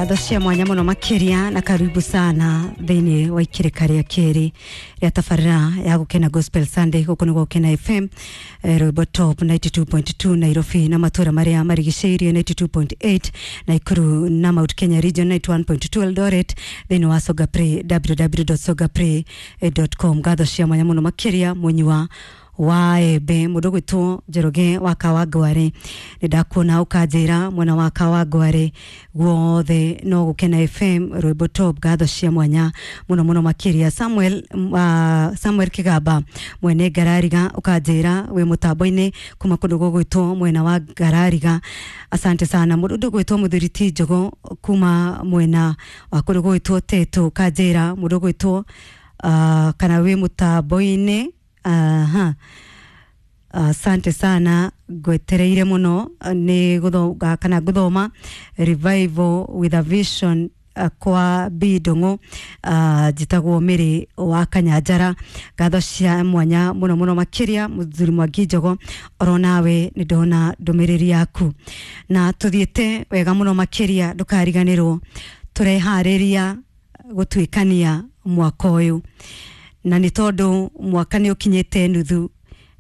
Ngatho cia mwanya muno makiria na karibu sana thiini wa ikirika ria kiri ria tabarira ya Gukena Gospel Sunday guku ni Gukena FM, Rwimbo Top 92.2 Nairobi na matura maria marigicĩirie 92.8 Nakuru na Mount Kenya Region 91.2 Eldoret thiini wa Songa Play www.songapray.com. Ngatho cia mwanya muno makiria munyua wa embe mundu gwitwo Njoroge wa Kawangware, ni ndakuona ukanjira mwena wa Kawangware guothe no Gukena FM Rwimbo Top. Ngatho cia mwanya muno muno makiria. Samuel, Samuel Kigamba mwene Ngarariga ukanjira wi mutambo-ini kuma kundu gugwitwo mwena wa Ngarariga, asante sana. Mundu gwitwo Muthuri ti Njogo kuma mwena wa kundu gugwitwo Tetu ukanjira mundu gwitwo kana wi mutambo-ini. Aha. Asante sana, ngwetereire muno ni guthoga kana guthoma Revival with a Vision kwa B Ndung'u. Njitagwo Mĩrĩ wa Kanyanjara. Ngatho cia mwanya muno muno makiria Muthuri Mwangi Njogo, oro nawe nĩ ndona ndũmĩrĩri yaku na tuthiĩte wega muno makiria. Ndũkariganĩrwo tũreharĩria gũtuĩkania mwaka ũyũ, na nĩ tondũ mwaka nĩ ũkinyĩte nuthu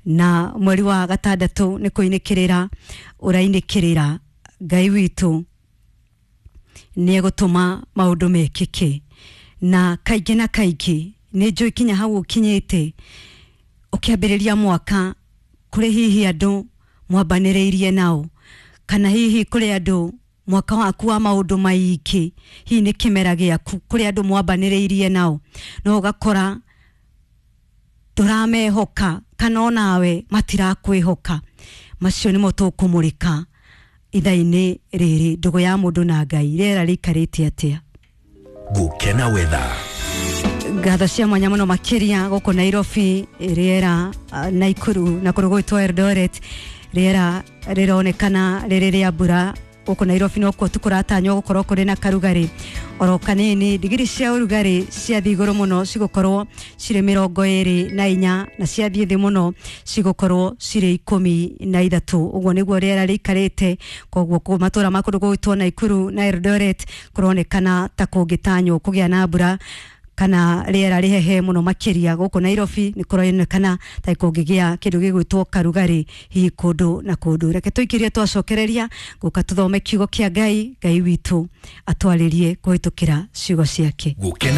na mweri wa gatandatũ nĩ kũinĩkĩrĩra ũrainĩkĩrĩra. Ngai witũ nĩ egũtũma maũndũ mekĩke, na kaingĩ na kaingĩ nĩ njũĩ kinya hau ũkinyĩte ũkĩambĩrĩria mwaka kũrĩ hihi andũ mwambanĩrĩirie nao, kana hihi kũrĩ andũ mwaka waku wa maũndũ maingĩ, hihi nĩ kĩmera gĩaku, kũrĩ andũ mwambanĩrĩirie nao no ũgakora ndũramehoka kana onawe matirakwĩhoka. Macio nĩmo tũkũmũrĩka ithaa-inĩ rĩrĩ. Ndũgũ ya mũndũ na Ngai, rĩera rĩikarĩte atĩa? Gukena Weather. Ngatho cia mwanya muno makiria. Gũkũ Nairobi rĩera, Naikuru na kũndũ gwĩtwo Eldoret rĩera rĩronekana rĩrĩ rĩa mbura. Gũkũ Nairobi nokuo tu kũratanywo gũkorwo kũrĩ na karugarĩ oro kanini. Ndigiri cia ũrugarĩ ciathiĩ igũrũ mũno cigũkorwo cirĩ 24, na ciathiĩ thĩ mũno cigũkorwo cirĩ 13. Ũguo nĩguo rĩera rĩikarĩte. Koguo matũra ma kũndũ gũgwĩtwo Naikuru na Eldoret kũronekana ta kũngĩtanywo kũgĩa na mbura kana rĩera rĩhehe mũno makĩria. Gũkũ Nairobi nĩ kũronekana ta kũngĩgĩa kĩndũ gĩgwĩtwo karugarĩ hihi kũndũ na kũndũ. Reke tũikĩrie, twacokereria gũka tũthome kiugo kĩa Ngai. Ngai witũ atwarĩrie kũhĩtũkĩra ciugo ciake. Gukena.